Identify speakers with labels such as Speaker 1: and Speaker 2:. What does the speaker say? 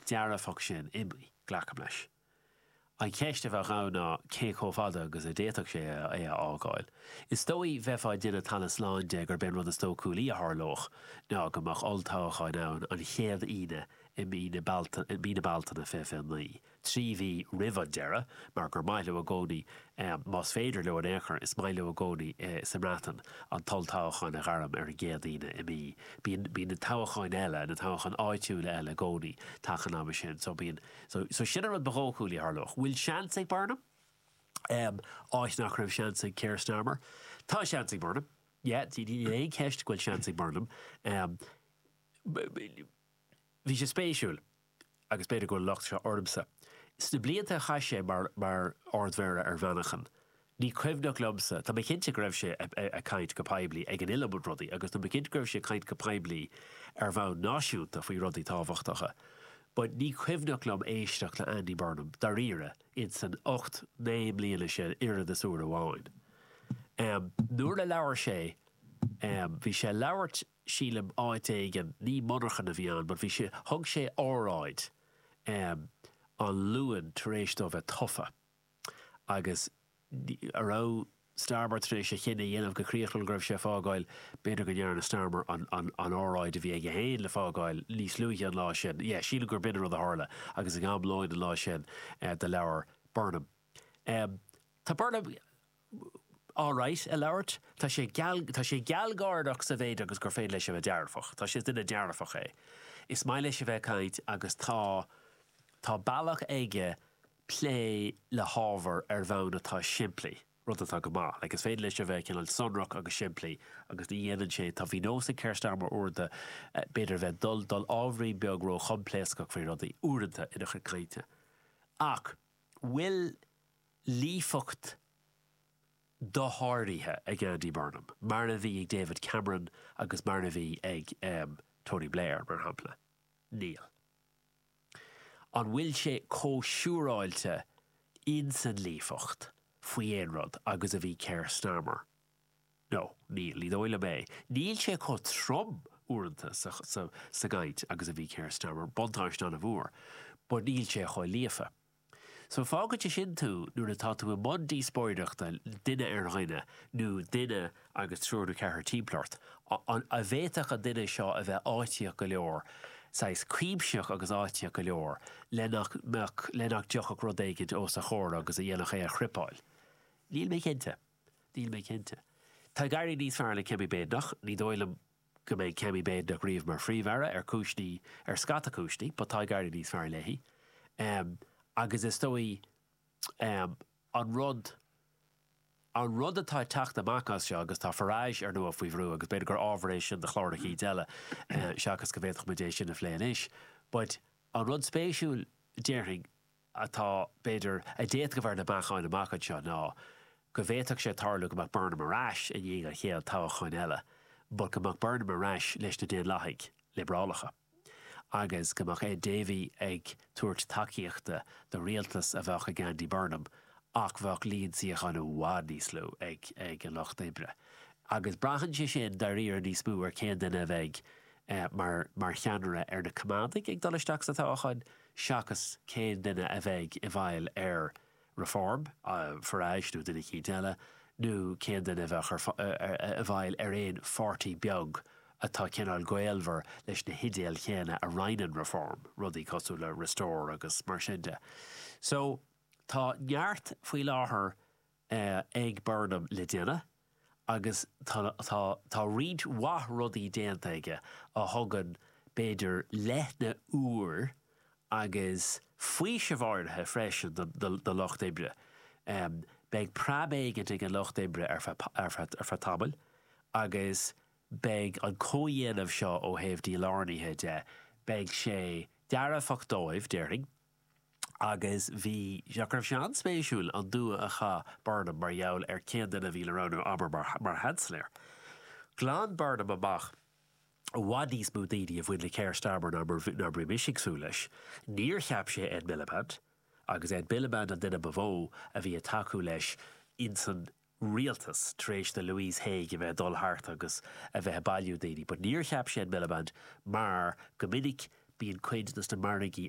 Speaker 1: dearfach sin imithe, glacaim leis. An cheist a bheadh ann ná cé chomh fada agus a d'fhéadfadh sé é a fhágáil. Is dóigh, bheifeá ag déanamh talamh slán de gurb é an rud is dóchúlaí a tharlódh ná go mbeadh olltoghcháin ann an chéad Aoine i mí na Bealtaine 2029, 3 mhí roimh an deireadh, mar gur maith leo i gcónaí, más féidir leo in aon chor, is maith leo i gcónaí sa mBreatain an t-olltoghchán a ghairm ar an gcéad Aoine i mí. Bíonn, bíonn na toghcháin eile, na toghcháin áitiúla eile i gcónaí taca an ama sin, so bíonn. So, so sin an rud ba dhóchúlaí a tharlódh. Bhfuil seans ag Burnham? Em, áit nach raibh seans ag Keir Starmer? Tá seans ag Burnham. Yeah, níl aon cheist go bhfuil seans ag Burnham. Em, bhí sé spéisiúil, agus b'fhéidir go bhfuil an locht seo ormsa, sna blianta a chaith sé mar, mar Ard-Mhéara ar Mhanchain, Ní cuimhneach liomsa, tá mé cinnte go raibh sé ag caint go poiblí ag an iliomad rudaí agus tá mé cinnte go raibh sé ag caint go poiblí ar bhonn náisiúnta faoi rudaí tábhachtacha but ní cuimhneach liom éisteacht le Andy Burnham dáiríre ins an 8, 9 mbliana sin oiread is uair amháin. Nuair a labhair sé, bhí sé ag labhairt sílim áit éigin, ní monarchan a bhí ann but bhí sé, thug sé óráid an Luan tar éis dó bheith tofa. Agus an raibh Starmer tar éis a chinneadh a dhéanamh go críochnúil go raibh sé ag fágáil, b'fhéidir go ndearna Starmer an óráid a bhí aige féin le fágáil níos luaithe an lá sin. Yeah, sílim gur b'in an rud a tharla agus ag am lóin an lá sin do labhair Burnham. Tá Burnham alright ag labhairt. Tá sé geal, tá sé gealgháireach sa mhéid agus gur féidir leis a bheith dearfach. Tá sé, is duine dearfach é. Is maith leis a bheith ag caint agus tá, tá bealach aige plé le hábhar ar bhonn atá simplí, rud atá go maith. Like, is féidir leis a bheith cineál sonrach agus simplí agus ní dhéanann sé, tá, bhí nós ag Keir Starmer uaireanta, b'fhéidir a bheith dul, dul ábhairín beag ró-choimpléascach faoi rudaí, uaireanta, ina chuid cainte. Ach bhfuil líofacht dosháraithe ag Andy Burnham, mar a bhí ag David Cameron agus mar a bhí ag Tony Blair, mar shampla? Níl. An bhfuil sé chomh siúráilte insan líofacht faoi aon rud agus a bhí Keir Starmer? No, níl, ní dóigh liom é. Níl sé chomh trom uaireanta sa, sa, sa gcaint agus a bhí Keir Starmer, buntáiste an-mhór, but níl sé chomh líofa. So fágann sé sin tú nuair atá tú i mbun díospóireachta duine ar dhuine nó duine agus triúr nó ceathrar timpeall ort, an bhféadfadh an duine seo a bheith áitíoch go leor, saghas cuimsitheach agus áitíoch go leor le nach mbeadh, le nach dtiocfadh rud éigint os a chomhair agus a dhéanfadh é a thripeáil? Níl mé cinnte. Níl mé cinnte. Tá ag éirí níos fearr le Kemi Badenoch, ní dóigh liom go mbeidh Kemi Badenoch riamh mar Phríomh-Aire, ar cúisní, ar scata cúisní, but tá ag éirí níos fearr léi. Agus is dóigh, an rud, an rud atá ag teacht amach as seo, agus tá Farage, ar ndóigh, faoi bhrú, agus b'fhéidir gur ábhar é sin do chlár eicínt eile, seachas go bhféadfadh muid é sin a phlé anois, but an rud spéisiúil, déarfainn, atá, b'fhéidir, a d'fhéadfadh a bheith ar na meáchain amach anseo ná go bhféadfadh sé tarlú go mbeadh Burnham ar ais i ndiaidh an chéad toghcháin eile but go mbeadh Burnham ar ais leis na Daonlathaigh Liobrálacha agus go mbeadh Ed Davey ag tabhairt tacaíochta do rialtas a bheadh ag Andy Burnham ach bheadh líon suíochán i bhfad níos lú ag ag an Lucht Oibre. Agus braitheann sé sin dáiríre níos mó ar cén duine a bheidh mar mar cheannaire ar na Coimeádaigh ag dul isteach sa toghchán. seachas cén duine a bheidh i bhfeighil ar Reform, Farage nó duine eicínt eile, nó cén duine a bheadh i bhfeighil ar aon pháirtí beag atá cineál gaolmhar leis na hidéil chéanna a roinneann Reform, rudaí cosúil le Restore agus mar sin de. So, tá neart faoi láthair ag Burnham le déanamh agus tá tá roinnt mhaith rudaí déanta aige a thugann b'fhéidir leithne úr agus faoiseamh áirithe freisin do lucht oibre. Beidh preab éigint ag an lucht oibre ar feadh ar feadh tamaill agus beidh an comhdhéanamh seo ó thaobh dílárnaithe de, beidh sé dearfach dóibh, déarfainn. Agus bhí, nach raibh sé an-spéisiúil an dua a chaith Burnham mar gheall ar cén duine a bhí le roghnú, abair, mar, mar Sheansailéir. Ghlan Burnham amach i bhfad níos mó daoine a bhain le Keir Starmer ná mar, ná mar a bhí mise ag súil leis. Níor cheap sé Ed Miliband, agus Ed Miliband an duine ba mhó a bhí ag tacú leis insan rialtas tar éis do Louise Haigh a bheith ag dul thart agus a bheith ag bailiú daoine. But níor cheap sé Ed Miliband mar go minic bíonn cuid dos na margaí.